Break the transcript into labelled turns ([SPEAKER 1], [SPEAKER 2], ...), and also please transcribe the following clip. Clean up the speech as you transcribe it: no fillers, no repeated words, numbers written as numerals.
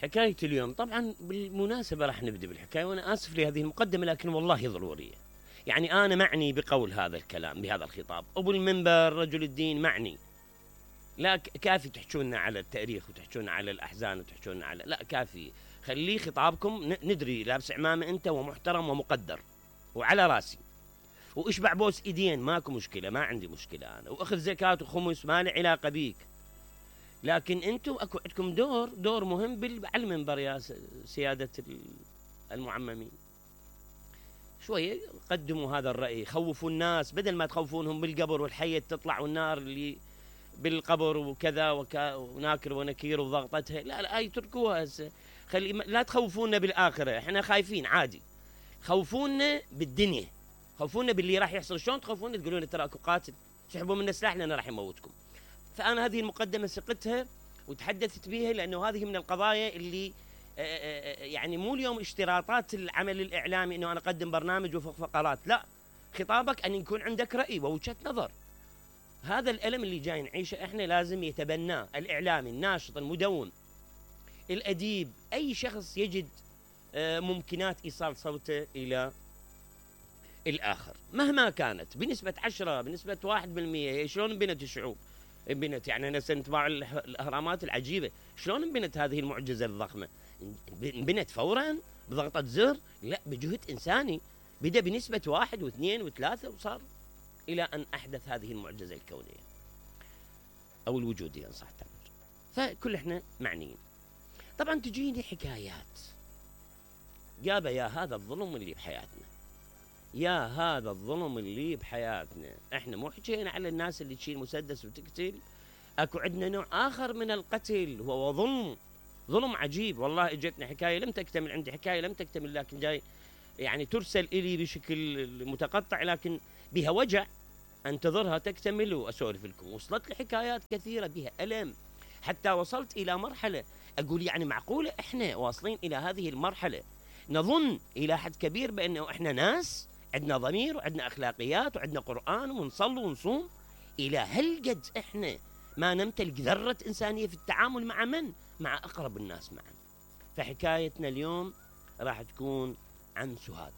[SPEAKER 1] حكاية اليوم طبعا بالمناسبة راح نبدأ بالحكاية، وأنا آسف لهذه المقدمة لكن والله ضرورية. يعني أنا معني بقول هذا الكلام بهذا الخطاب، أبو المنبر رجل الدين معني. لا كافي تحجونا على التاريخ وتحجونا على الأحزان وتحجونا على، لا كافي. خليه خطابكم ندري لابس عمامة أنت ومحترم ومقدر وعلى راسي، واشبع بوس ايدين ماكو مشكلة، ما عندي مشكلة أنا، وأخذ زكاة وخمس ما لي علاقة بيك. لكن انتم اكو عندكم دور مهم على المنبر يا سيادة المعممين. شوية قدموا هذا الرأي، خوفوا الناس بدل ما تخوفونهم بالقبر والحية تطلع والنار اللي بالقبر وكذا وناكر ونكير وضغطتها. لا لا يتركوها هسه. لا تخوفونا بالآخرة، احنا خايفين عادي. خوفونا بالدنيا، خوفونا باللي راح يحصل. شلون تخوفونا؟ تقولون ترى اكو قاتل سحبوا منا سلاح لأنه راح يموتكم. فأنا هذه المقدمة سقتها وتحدثت بها لأنه هذه من القضايا اللي يعني مو اليوم اشتراطات العمل الإعلامي أنه أنا أقدم برنامج وفقرات، لا، خطابك أن يكون عندك رأي ووجهة نظر. هذا الألم اللي جاي نعيشه إحنا لازم يتبناه الإعلامي الناشط المدون الأديب، أي شخص يجد ممكنات إيصال صوته إلى الآخر مهما كانت، بنسبة 10 بنسبة 1%. شلون انبنت الشعوب؟ انبنت يعني أنا سنتباع الأهرامات العجيبة، شلون انبنت هذه المعجزة الضخمة؟ انبنت فورا بضغطة زر؟ لا، بجهد إنساني بدأ بنسبة 1 و2 و3 وصار إلى أن أحدث هذه المعجزة الكونية أو الوجودية إن صح التعبير. فكل إحنا معنيين. طبعا تجيني حكايات جابة يا هذا الظلم اللي بحياتنا، يا هذا الظلم اللي بحياتنا. احنا مو حكينا على الناس اللي تشيل مسدس وتقتل، اكو عندنا نوع اخر من القتل وهو ظلم عجيب. والله اجتنا حكايه لم تكتمل، عندي حكايه لم تكتمل لكن جاي يعني ترسل الي بشكل متقطع لكن بها وجع، انتظرها تكتمل واسولف لكم. وصلت لي حكايات كثيره بها الم، حتى وصلت الى مرحله اقول يعني معقوله احنا واصلين الى هذه المرحله نظن الى حد كبير بانه احنا ناس عندنا ضمير وعندنا أخلاقيات وعندنا قرآن ونصلي ونصوم؟ إلى هالقد إحنا ما نمتلك ذرة إنسانية في التعامل مع من؟ مع أقرب الناس معا. فحكايتنا اليوم راح تكون عن سهاد.